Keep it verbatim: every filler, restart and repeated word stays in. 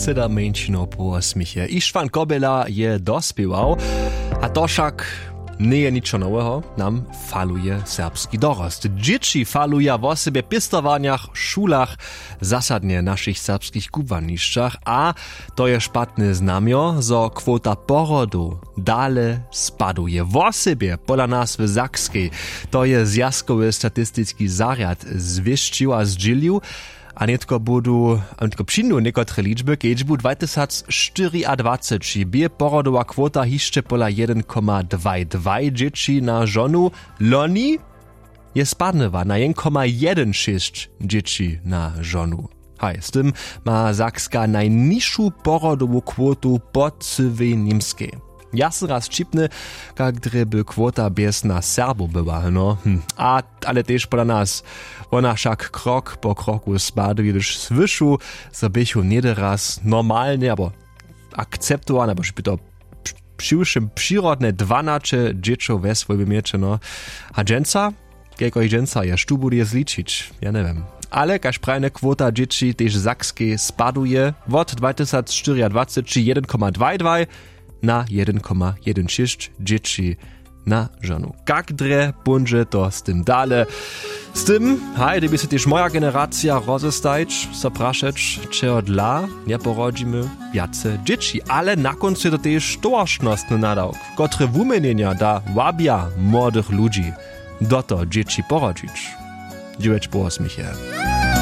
Teda mjeńšinow po směchje ištwan kobjela je dospěwał. A to wšak njeje ničo noweho. Nam faluje serbski dorost. Dźěći faluja wosebje w pěstowarnjach, šulach, zasadnje w našich serbskich kubłanišćach. A to je špatne znamjo, zo kwota porodow dale spaduje, wosebje pola nas w Sakskej. To je zwjazkowy statistiski zarjad zwěsćił a zdźělił. A nětko budu a nětko přińdu někotre ličby. Kedźbu dwatysacštyriadwaceći bě porodowa kwota hišće pola jedyn koma dwaj dwaj dźěći na žonu. Loni je spadnyła na jedyn koma jedyn šěsć dźěći na žonu. Haj, z tym ma Sakska najnižšu porodowu kwotu po cyłej Němskej. Ja sym raz ćipny, kak drje by kwota bjez nas Serbow była, no. Hm. A ale tež pola nas. Wona wšak krok po kroku spaduje, hdyž słyšu, zo běchu něhdy raz normalnje abo akceptowane, abo by to při wšěm přirodne dwanaće dźěćow we swójbje měće, no. A dźensa, kajko jich dźensa je, štó budu je zličić, ja njewěm. Ale kaž prajene, kwota dźěći tež w Sakskej spaduje wot dwatysacštyriadwaceći jedyn koma dwaj dwaj na jedyn koma jedyn šěsć dźěći na žonu. Kak drje póńdźe to z tym dale? Z tym, haj, dyrbi so tež moja generacija rozestajć, so prašeć, čehodla njeporodźimy wjace dźěći. Ale na kóncu je to tež towaršnostny nadawk, kotry wuměnjenja da wabja młodych ludźi do to dźěći porodźić. Dźewjeć po wosmich je.